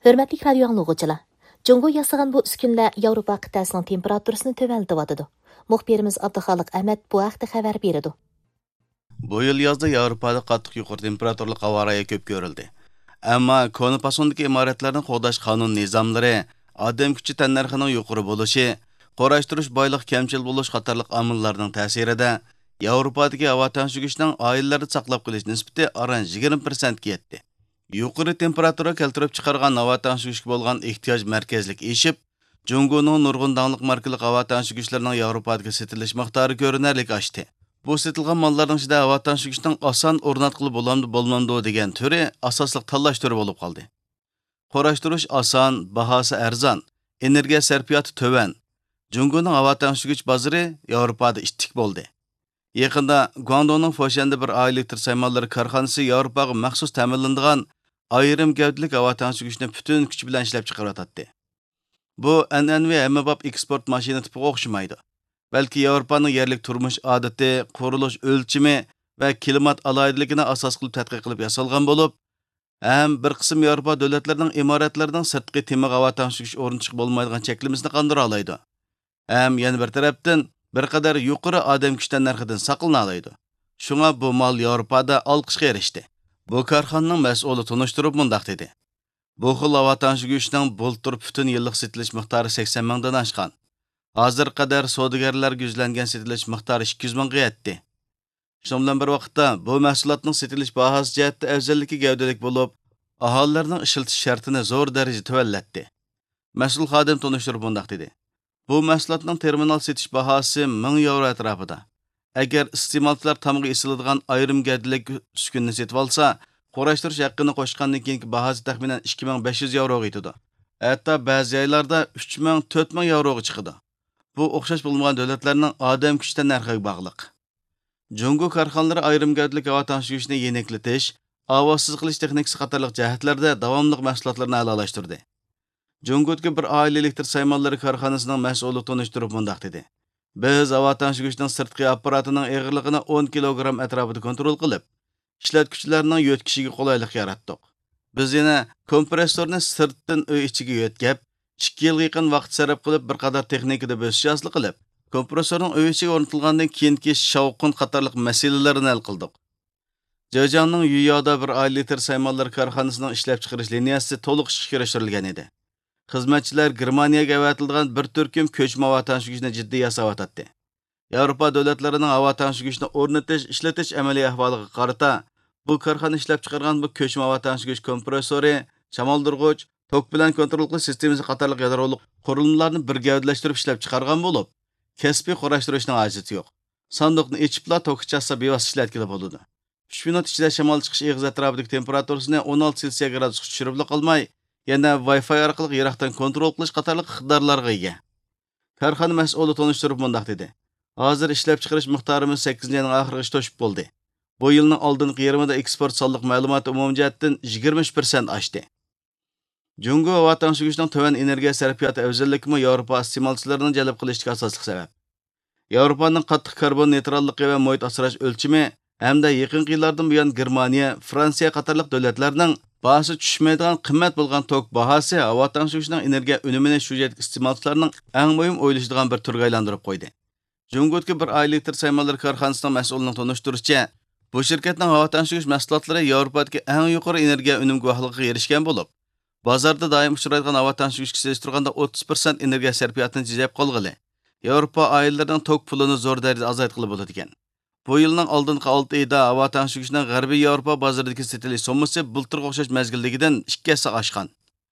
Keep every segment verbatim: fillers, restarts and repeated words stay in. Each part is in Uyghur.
ھۆرمەتلىك رادىيو ئاڭلىغۇچىلار! جۇڭگو ياسىغان بۇ ئۈسكۈنىلەر ياۋروپا قىتئەسىنىڭ تېمپېراتۇرىسىنى تۆۋەنلىتىۋاتىدۇ. مۇخبىرىمىز ئابدۇخالىق ئەمەت بۇ ھەقتە خەۋەر بېرىدۇ. بۇ يىل يازدا ياۋروپادا قاتتىق يۇقىرى تېمپېراتۇرىلىق ھاۋا رايى كۆپ كۆرۈلدى. ئەمما كونا پاسوندىكى ئىمارەتلەرنى قوغداش قانۇن نىزاملىرى، ئادەم كۈچى تەننەرخىنىڭ يۇقىرى بولۇشى، قۇراشتۇرۇش بايلىقى كەمچىل بولۇش قاتارلىق ئامىللارنىڭ تەسىرىدە، ياۋروپادىكى ھاۋا تەڭشىگۈچنىڭ ئائىلىلەردە ساقلاپ قېلىش نىسبىتى ئاران يىگىرمە پىرسەنتكە يەتتى. يۇقىرى تېمپېراتۇرا كەلتۈرۈپ چىقارغان ھاۋا تەڭشىگۈچكە بولغان ئېھتىياج مەركەزلىك ئېشىپ، جۇڭگونىڭ نۇرغۇن داڭلىق ماركىلىق ھاۋا تەڭشىگۈچلىرىنىڭ ياۋروپادىكى سېتىلىش مىقدارى كۆرۈنەرلىك ئاشتى. بۇ سېتىلغان ماللارنىڭ ئىچىدە ھاۋا تەڭشىگۈچنىڭ ئاسان ئورناتقىلى بولامدۇ بولمامدۇ دېگەن تۈرى ئاساسلىق تاللاش تۈرى بولۇپ قالدى. قۇراشتۇرۇش ئاسان، باھاسى ئەرزان، ئېنېرگىيە سەرپىياتى تۆۋەن. جۇڭگونىڭ ھاۋا تەڭشىگۈچ بازىرى ياۋروپادا ئىتتىك بولدى. يېقىندا گۇاڭدۇڭنىڭ فوشيەندە بىر ئائىلە ئېلېكتر سايمانلىرى كارخانىسى ياۋروپاغا مەخسۇس تەمىنلىنىدىغان ئايرىم گەۋدىلىك ھاۋا تەڭشىگۈچنى پۈتۈن كۈچى بىلەن ئىشلەپ چىقىرىۋاتاتتى. بۇ ئەنئەنىۋى ھەممىباب ئېكسپورت ماشىنا تىپىغا ئوخشىمايدۇ، بەلكى ياۋروپانىڭ يەرلىك تۇرمۇش ئادىتى، قۇرۇلۇش ئۆلچىمى ۋە كىلىمات ئالاھىدىلىكىنى ئاساس قىلىپ تەتقىق قىلىپ ياسالغان بولۇپ، ھەم بىر قىسىم ياۋروپا دۆلەتلىرىنىڭ ئىمارەتلىرىنىڭ سىرتقى تېمىغا ھاۋا تەڭشىگۈچ ئورنىتىشقا بولمايدىغان چەكلىمىسىنى قاندۇرالايدۇ. ھەم يەنە بىر تەرەپتىن، بىر قەدەر يۇقىرى ئادەم كۈچ تەننەرخىدىن ساقلىنالايدۇ. شۇڭا بۇ مال ياۋروپادا ئالقىشقا ئېرىشتى. بۇ كارخانىنىڭ مەسئۇلى تونۇشتۇرۇپ مۇنداق دېدى: بۇ خىل ھاۋا تەڭشىگۈچنىڭ بۇلتۇر پۈتۈن يىللىق سېتىلىش مىقدارى سەكسەن مىڭدىن ئاشقان. ھازىرغا قەدەر سودىگەرلەرگە يۈزلەنگەن سېتىلىش مىقدارى ئىككى يۈز مىڭغا يەتتى. شۇنىڭ بىلەن بىر ۋاقىتتا، بۇ مەھسۇلاتنىڭ سېتىلىش باھاسى جەھەتتە ئەۋزەللىكى گەۋدىلىك بولۇپ، ئاھالىلەرنىڭ ئىشلىتىش شەرتىنى زور دەرىجىدە تۆۋەنلەتتى. مەسئۇل خادىم تونۇشتۇرۇپ مۇنداق دېدى: بۇ مەھسۇلاتنىڭ تېرمىنال سېتىش باھاسى مىڭ ياۋرو ئەتراپىدا. ئەگەر ئىستېمالچىلار تامغا ئېسىلىدىغان ئايرىم گەۋدىلىك ئۈسكۈنىنى سېتىۋالسا، قۇراشتۇرۇش ھەققىنى قوشقاندىن كېيىنكى باھاسى تەخمىنەن ئىككى مىڭ بەش يۈز ياۋروغا يېتىدۇ. ھەتتا بەزى ئايلاردا ئۈچ مىڭ، تۆت مىڭ ياۋروغا چىقىدۇ. بۇ ئوخشاش بولمىغان دۆلەتلەرنىڭ ئادەم كۈچ تەننەرخىگە باغلىق. جۇڭگو كارخانىلىرى ئايرىم گەۋدىلىك ھاۋا تەڭشىگۈچنى يېنىكلىتىش، ئاۋازسىز قىلىش تېخنىكىسى قاتارلىق جەھەتلەردە داۋاملىق مەھسۇلاتلىرىنى ئەلالاشتۇردى. جۇڭگودىكى بىر ئائىلە ئېلېكتر سايمانلىرى كارخانىسىنىڭ مەسئۇلى تونۇشتۇرۇپ مۇنداق دېدى: بىز ھاۋا تەڭشىگۈچنىڭ سىرتقى ئاپپاراتىنىڭ ئېغىرلىقىنى ئون كىلوگرام ئەتراپىدا كونترول قىلىپ، ئىشلەتكۈچىلەرنىڭ يۆتكىشىگە قولايلىق ياراتتۇق. بىز يەنە كومپرېسسورنى سىرتتىن ئۆي ئىچىگە يۆتكەپ، ئىككى يىلغا يېقىن ۋاقىت سەرپ قىلىپ، بىر قاتار تېخنىكىدا بۆسۈش ھاسىل قىلىپ، كومپرېسسورنىڭ ئۆي ئىچىگە ئورنىتىلغاندىن كېيىنكى شاۋقۇن قاتارلىق مەسىلىلەرنى ھەل قىلدۇق. جېجياڭنىڭ يۈييادا بىر ئائىلە ئېلېكتر سايمانلىرى كارخانىسىنىڭ ئىشلەپچىقىرىش لىنىيەسى تولۇق ئىشقا كىرىشتۈرۈلگەن ئىدى. خىزمەتچىلەر گېرمانىيەگە ئەۋەتىلىدىغان بىر تۈركۈم كۆچمە ھاۋا تەڭشىگۈچنى جىددىي ياساۋاتاتتى. ياۋروپا دۆلەتلىرىنىڭ ھاۋا تەڭشىگۈچنى ئورنىتىش، ئىشلىتىش ئەمەلىي ئەھۋالىغا قارىتا، بۇ كارخانا ئىشلەپچىقارغان بۇ كۆچمە ھاۋا تەڭشىگۈچ كومپرېسسورى، شامالدۇرغۇچ، توك بىلەن كونترول قىلىش سىستېمىسى قاتارلىق يادرولۇق قۇرۇلمىلارنى بىر گەۋدىلەشتۈرۈپ ئىشلەپچىقارغان بولۇپ، كەسپىي قۇراشتۇرۇشنىڭ ھاجىتى يوق. ساندۇقنى ئېچىپلا توكى چاتسا بىۋاسىتە ئىشلەتكىلى بولىدۇ. ئۈچ مىنۇت ئىچىدە شامال چىقىش ئېغىزى ئەتراپىدىكى تېمپېراتۇرىسىنى ئون ئالتە سېلسىيە گرادۇسقا چۈشۈرۈپلا قالماي، يەنە ۋاي فاي ئارقىلىق يىراقتىن كونترول قىلىش قاتارلىق ئىقتىدارلارغا ئىگە. كارخانا مەسئۇلى تونۇشتۇرۇپ مۇنداق دېدى: ھازىر ئىشلەپچىقىرىش مىقدارىمىز سەككىزىنچى ئاينىڭ ئاخىرىغىچە توشۇپ بولدى. بۇ يىلنىڭ ئالدىنقى يېرىمىدا ئېكسپورت سانلىق مەلۇماتى ئومۇمىي جەھەتتىن يىگىرمە ئۈچ پىرسەنت ئاشتى. جۇڭگو ھاۋا تەڭشىگۈچنىڭ تۆۋەن ئېنېرگىيە سەرپىياتى ئەۋزەللىكىمۇ ياۋروپا ئىستېمالچىلىرىنى جەلپ قىلىشتىكى ئاساسلىق سەۋەب. ياۋروپانىڭ قاتتىق كاربون نېيتراللىقى ۋە مۇھىت ئاسراش ئۆلچىمى ھەمدە يېقىنقى يىللاردىن بۇيان گېرمانىيە، فرانسىيە قاتارلىق دۆلەتلەرنىڭ باھاسى چۈشمەيدىغان قىممەت بولغان توك باھاسى ھاۋا تەڭشىگۈچنىڭ ئېنېرگىيە ئۈنۈمىنى شۇ يەردىكى ئىستېمالچىلارنىڭ ئەڭ مۇھىم ئويلىشىدىغان بىر تۈرگە ئايلاندۇرۇپ قويدى. جۇڭگودىكى بىر ئائىلە ئېلېكتر سايمانلىرى كارخانىسىنىڭ مەسئۇلىنىڭ تونۇشتۇرۇشىچە، بۇ شىركەتنىڭ ھاۋا تەڭشىگۈچ مەھسۇلاتلىرى ياۋروپادىكى ئەڭ يۇقىرى ئېنېرگىيە ئۈنۈم گۇۋاھلىقىغا ئېرىشكەن بولۇپ، بازاردا دائىم ئۇچرايدىغان ھاۋا تەڭشىگۈچكە سېلىشتۇرغاندا ئوتتۇز پىرسەنت ئېنېرگىيە سەرپىياتىنى تېجەپ قالغىلى، ياۋروپا ئائىلىلىرىنىڭ توك پۇلىنى زور دەرىجىدە ئازايتقىلى بولىدىكەن. بۇ يىلنىڭ ئالدىنقى ئالتە ئېيىدا ھاۋا تەڭشىگۈچنىڭ غەربىي ياۋروپا بازىرىدىكى سېتىلىش سوممىسى بۇلتۇرغا ئوخشاش مەزگىلدىكىدىن ئىككى ھەسسە ئاشقان.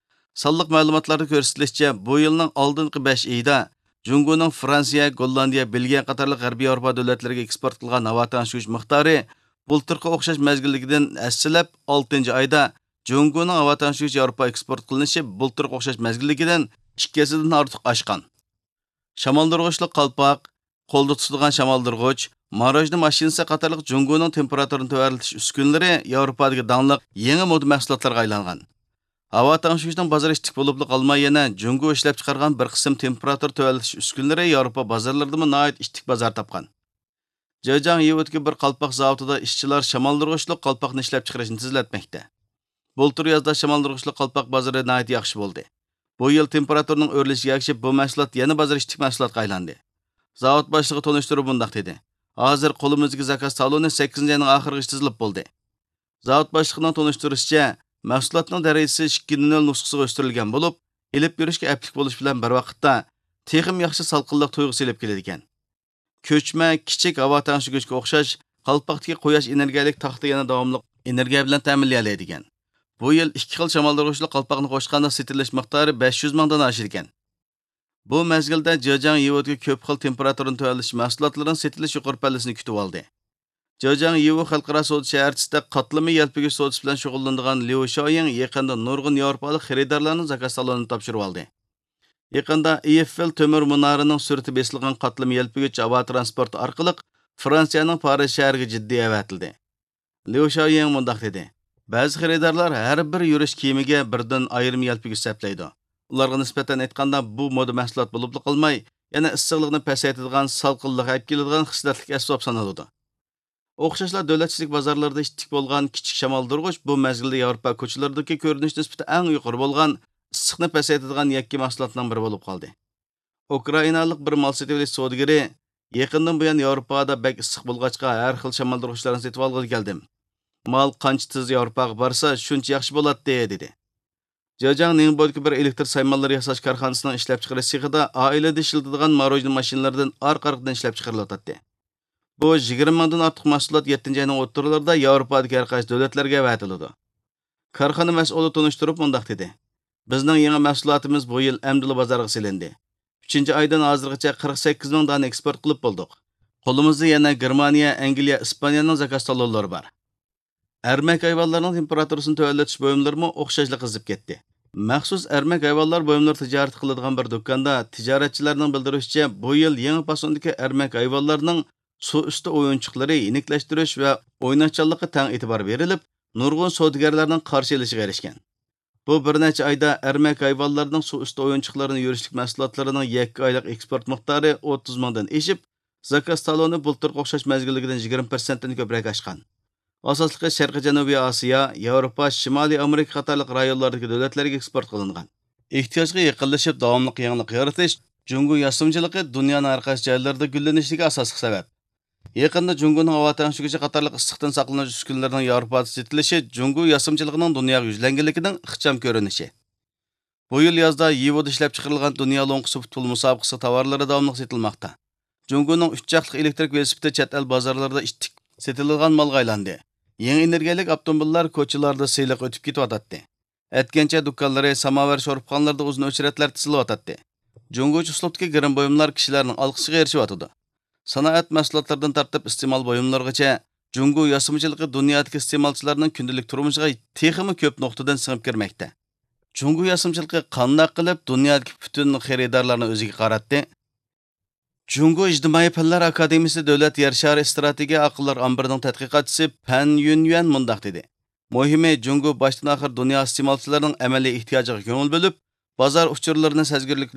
سانلىق مەلۇماتلاردا كۆرسىتىلىشىچە، بۇ يىلنىڭ ئالدىنقى بەش ئېيىدا جۇڭگونىڭ فرانسىيە، گوللاندىيە، بېلگىيە قاتارلىق غەربىي ياۋروپا دۆلەتلىرىگە ئېكسپورت قىلغان ھاۋا تەڭشىگۈچ مىقدارى بۇلتۇرقى ئوخشاش مەزگىلدىكىدىن ھەسسىلەپ، ئالتىنچى ئايدا جۇڭگونىڭ ھاۋا تەڭشىگۈچ ياۋروپا ئېكسپورت قىلىنىشى بۇلتۇرقى ئوخشاش مەزگىلدىكىدىن ئىككى ھەسسىدىن ئارتۇق ئاشقان. شامالدۇرغۇچلۇق قالپاق، قولدا تۇتىدىغان شامالدۇرغۇچ، ماروژنا ماشىنىسى قاتارلىق جۇڭگونىڭ تېمپېراتۇرىنى تۆۋەنلىتىش ئۈسكۈنىلىرى ياۋروپادىكى داڭلىق يېڭى مودا مەھسۇلاتلارغا ئايلانغان. ھاۋا تەڭشىگۈچنىڭ بازىرى ئىتتىك بولۇپلا قالماي، يەنە جۇڭگو ئىشلەپچىقارغان بىر قىسىم تېمپېراتۇرا تۆۋەنلىتىش ئۈسكۈنىلىرى ياۋروپا بازارلىرىدىمۇ ناھايىتى ئىتتىك بازار تاپقان. جېجياڭ يىۋېدىكى بىر قالپاق زاۋۇتىدا ئىشچىلار شامالدۇرغۇچلۇق قالپاقنى ئىشلەپچىقىرىشنى تېزلەتمەكتە. بۇلتۇر يازدا شامالدۇرغۇچلۇق قالپاق بازىرى ناھايىتى ياخشى بولدى. بۇ يىل تېمپېراتۇرىنىڭ ئۆرلىشىگە ئەگىشىپ، بۇ مەھسۇلات يەنە بازار ئىچىدىكى مەھسۇلاتقا ئايلاندى. زاۋۇت باشلىقى تونۇشتۇرۇپ مۇنداق دېدى: «ھازىر قولىمىزدىكى زاكاز تالونى سەككىزىنچى ئاينىڭ ئاخىرىغىچە تىزىلىپ بولدى.» زاۋۇت باشلىقىنىڭ تونۇشتۇرۇشىچە، مەھسۇلاتنىڭ دەرىجىسى ئىككى نۆل نۇسخىسىغا ئۆستۈرۈلگەن بولۇپ، ئېلىپ يۈرۈشكە ئەپلىك بولۇش بىلەن بىر ۋاقىتتا تېخىمۇ ياخشى سالقىنلىق تۇيغۇسى ئېلىپ كېلىدىكەن. كۆچمە، كىچىك ھاۋا تەڭشىگۈچكە ئوخشاش، قالپاقتىكى قۇياش ئېنېرگىيەلىك تاختا يەنە داۋاملىق ئېنېرگىيە بىلەن تەمىنلىيەلەيدىكەن. بۇ يىل ئىككى خىل شامالدۇرغۇچلۇق قالپاقنى قوشقاندا سېتىلىش مىقدارى بەش يۈز مىڭدىن ئاشىدىكەن. بۇ مەزگىلدە جېجياڭ يىۋۇدىكى كۆپ خىل تېمپېراتۇرىنى تۆۋەنلىتىش مەھسۇلاتلىرىنىڭ سېتىلىش يۇقىرى پەللىسىنى كۈتۈۋالدى. جېجياڭ يىۋۇ خەلقئارا سودا شەھەرچىسىدە قاتلىما يەلپۈگۈچ سودىسى بىلەن شۇغۇللىنىدىغان ليۇ شاۋيىڭ يېقىندا نۇرغۇن ياۋروپالىق خېرىدارلارنىڭ زاكاز تالونىنى تاپشۇرۇۋالدى. يېقىندا ئېيفېل تۆمۈر مۇنارىنىڭ سۈرىتى بېسىلغان قاتلىما يەلپۈگۈچ ھاۋا تىرانسپورتى ئارقىلىق فرانسىيەنىڭ پارىژ شەھىرىگە جىددىي ئەۋەتىلدى. ليۇ شاۋيىڭ مۇنداق دېدى: «بەزى خېرىدارلار ھەر بىر يۈرۈش كىيىمىگە بىردىن ئايرىم يەلپۈگۈچ سەپلەيدۇ. ئۇلارغا نىسبەتەن ئېيتقاندا، بۇ مودا مەھسۇلات بولۇپلا قالماي، يەنە ئىسسىقلىقنى پەسەيتىدىغان، سالقىنلىق ئەپ كېلىدىغان خىسلەتلىك ئەسۋاب سانىلىدۇ.» ئوخشاشلا دۆلەت ئىچىدىكى بازارلىرىدا ئىتتىك بولغان كىچىك شامالدۇرغۇچ بۇ مەزگىلدە ياۋروپا كوچىلىرىدىكى كۆرۈنۈش نىسبىتى ئەڭ يۇقىرى بولغان، ئىسسىقنى پەسەيتىدىغان يەككە مەھسۇلاتنىڭ بىرى بولۇپ قالدى. ئۇكرائىنالىق بىر مال سېتىۋېلىش سودىگىرى: «يېقىندىن بۇيان ياۋروپادا بەك ئىسسىق بولغاچقا، ھەر خىل شامالدۇرغۇچلارنى سېتىۋالغىلى كەلدىم. مال قانچە تېز ياۋروپاغا بارسا، شۇنچە ياخشى بولاتتى» دېدى. جېجياڭ نىڭبودىكى بىر ئېلېكتر سايمانلىرى ياساش كارخانىسىنىڭ ئىشلەپچىقىرىش سېخىدا ئائىلىدە ئىشلىتىدىغان ماروژنا ماشىنىلىرىدىن ئارقا-ئارقىدىن ئىشلەپچىقىرىلىۋاتاتتى. بۇ يىگىرمە مىڭدىن ئارتۇق مەھسۇلات يەتتىنچى ئاينىڭ ئوتتۇرىلىرىدا ياۋروپادىكى ھەر قايسى دۆلەتلەرگە ئەۋەتىلىدۇ. كارخانا مەسئۇلى تونۇشتۇرۇپ مۇنداق دېدى: «بىزنىڭ يېڭى مەھسۇلاتىمىز بۇ يىل ئەمدىلا بازارغا سېلىندى. ئۈچىنچى ئايدىن ھازىرغىچە قىرىق سەككىز مىڭ دانە ئېكسپورت قىلىپ بولدۇق. قولىمىزدا يەنە گېرمانىيە، ئەنگلىيە، ئىسپانىيەنىڭ زاكاز تالونلىرى بار.» ئەرمەك ھايۋانلارنىڭ تېمپېراتۇرىسىنى تۆۋەنلىتىش بۇيۇملىرىمۇ ئوخشاشلا قىزىپ كەتتى. مەخسۇس ئەرمەك ھايۋانلار بۇيۇملىرى تىجارىتى قىلىدىغان بىر دۇكاندا تىجارەتچىلەرنىڭ بىلدۈرۈشىچە، بۇ يىل يېڭى پاسوندىكى ئەرمەك ھايۋانلارنىڭ سۇ ئۈستى ئويۇنچۇقلىرى، يېنىكلەشتۈرۈش ۋە ئويناشچانلىققا تەڭ ئېتىبار بېرىلىپ، نۇرغۇن سودىگەرلەرنىڭ قارشى ئېلىشىغا ئېرىشكەن. بۇ بىر نەچچە ئايدا ئەرمەك ھايۋانلارنىڭ سۇ ئۈستى ئويۇنچۇقلىرىنى يۈرۈشلۈك مەھسۇلاتلىرىنىڭ يەككە ئايلىق ئېكسپورت مىقدارى ئوتتۇز مىڭدىن ئېشىپ، زاكاز تالونى بۇلتۇرقى ئوخشاش مەزگىلدىكىدىن يىگىرمە پىرسەنتتىن كۆپرەك ئاشقان. ئاساسلىقى شەرقىي جەنۇبىي ئاسىيا، ياۋروپا، شىمالىي ئامېرىكا قاتارلىق رايونلاردىكى دۆلەتلەرگە ئېكسپورت قىلىنغان. ئېھتىياجغا يېقىنلىشىپ، داۋاملىق يېڭىلىق يارىتىش جۇڭگو ياسىمىچىلىقى دۇنيانىڭ ھەر قايسى جايلىرىدا گۈللىنىشىگە ئاساسلىق سەۋەب. يېقىندا جۇڭگونىڭ ھاۋا تەڭشىگۈچى قاتارلىق ئىسسىقتىن ساقلىنىش ئۈسكۈنىلىرىنىڭ ياۋروپادا سېتىلىشى جۇڭگو ياسىمىچىلىقىنىڭ دۇنياغا يۈزلەنگەنلىكىنىڭ ئىخچام كۆرۈنۈشى. بۇ يىل يازدا يىۋۇدا ئىشلەپچىقىرىلغان دۇنيا لوڭقىسى پۇتبول مۇسابىقىسى تاۋارلىرى داۋاملىق سېتىلماقتا. جۇڭگونىڭ ئۈچ چاقلىق ئېلېكتىرىك ۋېلىسىپىتى چەت ئەل بازارلىرىدا ئىتتىك سېتىلىدىغان مالغا ئايلاندى. يېڭى ئېنېرگىيەلىك ئاپتوموبىللار كوچىلاردا سىلىق ئۆتۈپ كېتىۋاتاتتى. ئەتكەنچە دۇكانلىرى، ساماۋار شورپىخانىلىرىدا ئۇزۇن ئۆچرەتلەر تىزىلىۋاتاتتى. جۇڭگوچە ئۇسلۇبتىكى گىرىم بۇيۇملار كىشىلەرنىڭ ئالقىشىغا ئېرىشىۋاتىدۇ. سانائەت مەھسۇلاتلىرىدىن تارتىپ ئىستېمال بۇيۇملىرىغىچە، جۇڭگو ياسىمىچىلىقى دۇنيادىكى ئىستېمالچىلارنىڭ كۈندىلىك تۇرمۇشىغا تېخىمۇ كۆپ نۇقتىدىن سىڭىپ كىرمەكتە. جۇڭگو ياسىمىچىلىقى قانداق قىلىپ دۇنيادىكى پۈتۈن خېرىدارلارنى ئۆزىگە قاراتتى؟ جۇڭگو ئىجتىمائىي پەنلەر ئاكادېمىيىسى دۆلەت يەر شارى ئىستراتېگىيە ئاقىللار ئامبىرىنىڭ تەتقىقاتچىسى پەن يۈنيۈەن مۇنداق دېدى: «مۇھىمى، جۇڭگو باشتىن-ئاخىر دۇنيا ئىستېمالچىلىرىنىڭ ئەمەلىي ئېھتىياجىغا كۆڭۈل بۆلۈپ، بازار ئۇچۇرلىرىنى سەزگۈرلۈك